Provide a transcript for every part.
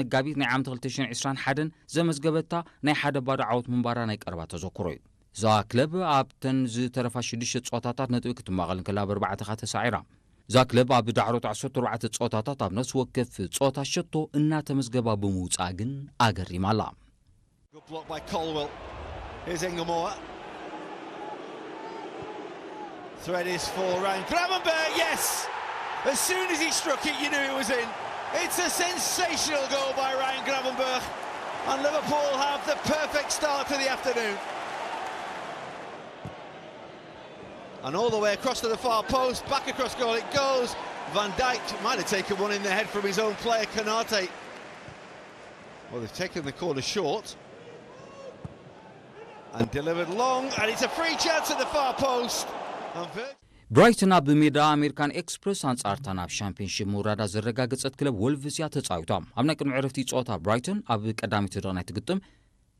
መጋቢት ናይ ዓመት ክልተ ሽሕን ዕስራን ሓደን ዘመዝገበታ ናይ ሓደ ባዶ ዓወት ምንባራ ናይ ቀረባ ተዘክሮ እዩ። እዛ ክለብ ኣብተን ዝተረፋ ሽዱሽተ ጸወታታት ነጥቢ ክትማቐል እንከላ፣ ብኣርባዕተ ከኣ ተሳዒራ። እዛ ክለብ ኣብ ዳሕሮት ዓሰርተ ኣርባዕተ ጸወታታት ኣብ ነፍሲ ወከፍ ጸወታ ሸቶ እናተመዝገባ ብምውጻኣ ግን ኣገሪማ ኣላ። Good block by Colwill. Here's Ingemore. Thread is for Ryan Gravenberch. Yes! As soon as he struck it, you knew it was in. It's a sensational goal by Ryan Gravenberch. And Liverpool have the perfect start to the afternoon. And all the way across to the far post, back across goal it goes. Van Dijk might have taken one in the head from his own player, Konate. Well, they've taken the corner short and delivered long, and it's a free chance at the far post. And Vir- ብራይተን ኣብ ሜዳ ኣሜሪካን ኤክስፕረስ ኣንጻርታ ናብ ሻምፒዮንሺፕ ምውራዳ ዘረጋገጸት ክለብ ወልቭስ እያ ተጻዊታ። ኣብ ናይ ቅድሚ ዕረፍቲ ጸወታ ብራይተን ኣብ ቀዳመይቲ ደቂቕ ናይ ትግጥም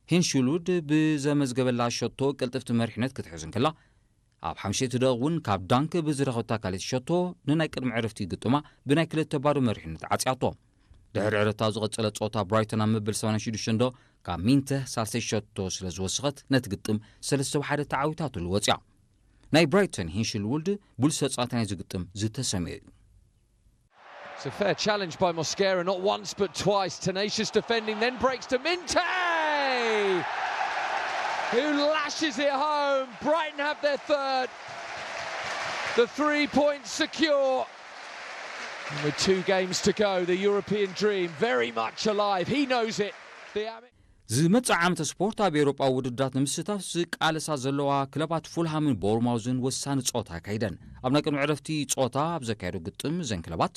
ሂንሽሉድ ብዘመዝገበላ ሸቶ ቅልጥፍቲ መሪሕነት ክትሕዝ እንከላ፣ ኣብ ሓምሸይቲ ደቂቕ እውን ካብ ዳንክ ብዝረኸብታ ካልኣይቲ ሸቶ ንናይ ቅድሚ ዕረፍቲ ግጥማ ብናይ ክልተ ባዶ መሪሕነት ዓጽያቶ። ድሕሪ ዕረፍቲ ኣብ ዝቐጸለ ጸወታ ብራይተን ኣብ መበል ሰማንያን ሽዱሽተን ደቂቕ ካብ ሚንተ ሳልሰይ ሸቶ ስለ ዝወሰኸት ነቲ ግጥም ሰለስተ ብሓደ ተዓዊታትሉ ወጽያ። ናይ ብራይተን ሂንሽልውልድ ብሉስ ተጻዋታይ ናይዚ ግጥም ዝተሰምዮ እዩ። It's a fair challenge by Mosquera, not once but twice. Tenacious defending, then breaks to Minte, who lashes it home. Brighton have their third. The three points secure. And with two games to go, the European dream very much alive. He knows it. The Ami- ዝመጽእ ዓመተ ስፖርት ኣብ ኤውሮጳዊ ውድድራት ንምስታፍ ዝቃለሳ ዘለዋ ክለባት ፉልሃምን ቦርማውዝን ወሳኒ ጸወታ ኣካይደን። ኣብ ናይ ቅድሚ ዕረፍቲ ጸወታ ኣብ ዘካየዶ ግጥም እዘን ክለባት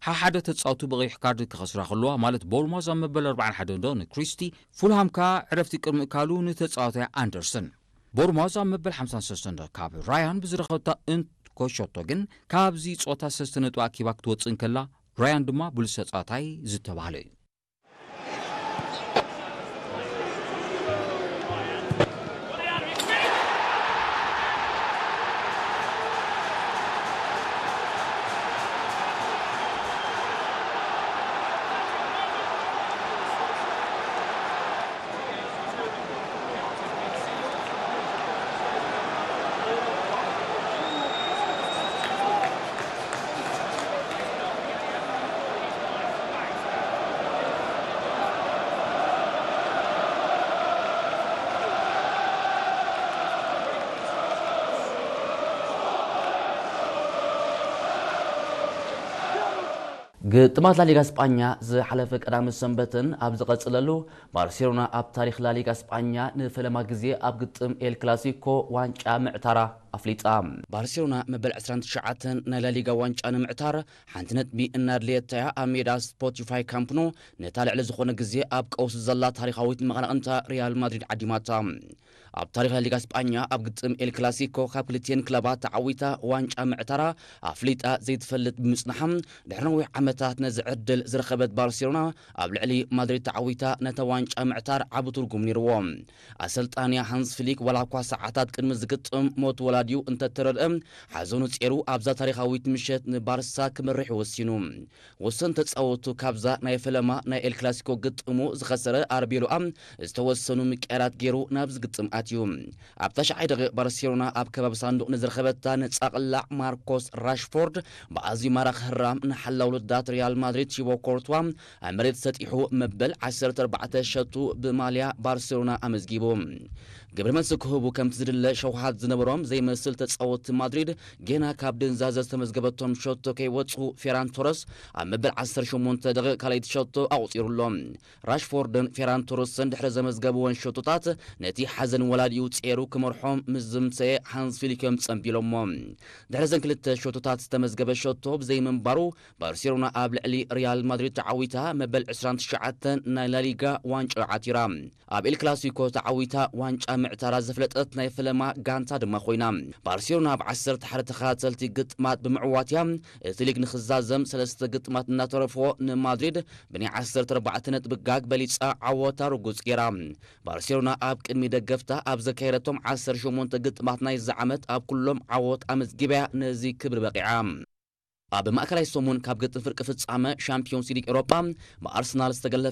ሓሓደ ተጻውቱ ብቐይሕ ካርድ ክኸስራ ከለዋ፣ ማለት ቦርማውዝ ኣብ መበል ኣርባዓን ሓደን ዶ ንክሪስቲ፣ ፉልሃም ከኣ ዕረፍቲ ቅድሚ እካሉ ንተጻዋታይ ኣንደርሰን። ቦርማውዝ ኣብ መበል ሓምሳን ሰለስተን ዶ ካብ ራያን ብዝረኸብታ እንኮ ሸቶ ግን ካብዚ ጸወታ ሰለስተ ነጥቢ ኣኪባ ክትወጽእ እንከላ፣ ራያን ድማ ብሉስ ተጻዋታይ ዝተባህለ እዩ። ግጥማት ላሊጋ ስጳኛ ዝሓለፈ ቀዳመ ሰንበትን ኣብ ዝቐጽለሉ፣ ባርሴሎና ኣብ ታሪኽ ላሊጋ ስጳኛ ንፈለማ ግዜ ኣብ ግጥም ኤል ክላሲኮ ዋንጫ ምዕታራ ኣፍሊጣ። ባርሴሎና መበል ዕስራን ትሽዓተን ናይ ላሊጋ ዋንጫ ንምዕታር ሓንቲ ነጥቢ እናድለየታ እያ ኣብ ሜዳ ስፖቲፋይ ካምፕ ኑ ነታ ልዕሊ ዝኾነ ግዜ ኣብ ቀውሲ ዘላ ታሪኻዊት መቐናቕንታ ሪያል ማድሪድ ዓዲማታ። ኣብ ታሪኽ ላሊጋ ስጳኛ ኣብ ግጥም ኤል ክላሲኮ ካብ ክልቲኤን ክለባት ተዓዊታ ዋንጫ ምዕታራ ኣፍሊጣ ዘይትፈልጥ ብምጽንሓ፣ ድሕሪ ነዊሕ ዓመታት ነዚ ዕድል ዝረኸበት ባርሴሎና ኣብ ልዕሊ ማድሪድ ተዓዊታ ነታ ዋንጫ ምዕታር ዓቢ ትርጉም ነይርዎ። ኣሰልጣንያ ሃንስ ፍሊክ ዋላ እኳ ሰዓታት ቅድሚ ዝግጥም ሞት ወላዲኡ እንተተረድአ፣ ሓዘኑ ጼሩ ኣብዛ ታሪኻዊት ምሸት ንባርሳ ክመርሕ ወሲኑ። ወሰን ተጻወቱ ካብዛ ናይ ፈለማ ናይ ኤል ክላሲኮ ግጥሙ ዝኸሰረ ኣርቤሎኣ ዝተወሰኑ ምቅያራት ገይሩ ናብዚ ግጥም ኣትዩ። ኣብ ታሽዓይ ደቂቕ ባርሴሎና ኣብ ከባቢ ሳንዱቕ ንዝረኸበታ ነጻ ቅላዕ ማርኮስ ራሽፎርድ ብኣዝዩ ማራኺ ህራም ንሓላው ልዳት ሪያል ማድሪድ ቲቦ ኮርትዋ ኣብ መሬት ሰጢሑ መበል ዓሰርተ ኣርባዕተ ሸቱ ብማልያ ባርሴሎና ኣመዝጊቡ። ግብረ መልሲ ክህቡ ከምቲ ዝድለ ሸውሃት ዝነበሮም ዘይመስል ተጻወትቲ ማድሪድ ጌና ካብ ድንዛዘ ዝተመዝገበቶም ሸቶ ከይወጹ ፌራን ቶረስ ኣብ መበል ዓሰርተ ሸሞንተ ደቂቕ ካልኣይቲ ሸቶ ኣቑጺሩ ኣሎ። ራሽፎርድን ፌራን ቶረስን ድሕሪ ዘመዝገብወን ሸቶታት ነቲ ሓዘን ወላዲኡ ጼሩ ክመርሖም ምስ ዝምሰየ ሃንስ ፊሊክ እዮም ጸንቢሎሞ። ድሕሪ ዘን ክልተ ሸቶታት ዝተመዝገበ ሸቶ ብዘይምንባሩ ባርሴሎና ኣብ ልዕሊ ሪያል ማድሪድ ተዓዊታ መበል ዕስራን ትሽዓተን ናይ ላሊጋ ዋንጫ ዓቲራ። ኣብ ኤል ክላሲኮ ተዓዊታ ዋንጫ ምዕታራ ዘፍለጠት ናይ ፈለማ ጋንታ ድማ ኮይና። ባርሴሎና ኣብ ዓሰርተ ሓደ ተኸታተልቲ ግጥማት ብምዕዋት እያ እቲ ሊግ ንኽዛዘም ሰለስተ ግጥማት እናተረፎ ንማድሪድ ብናይ ዓሰርተ ኣርባዕተ ነጥቢ ጋግ በሊጻ ዓወታ ርጉጽ ገይራ። ባርሴሎና ኣብ ቅድሚ ደገፍታ ኣብ ዘካየደቶም ዓሰርተ ሸሞንተ ግጥማት ናይዚ ዓመት ኣብ ኩሎም ዓወት ኣመዝጊባ እያ ነዚ ክብሪ በቒዓ። ኣብ ማእከላይ ሰሙን ካብ ግጥም ፍርቂ ፍጻመ ሻምፒዮንስ ሊግ ኤውሮጳ ብኣርሰናል ዝተገለፈ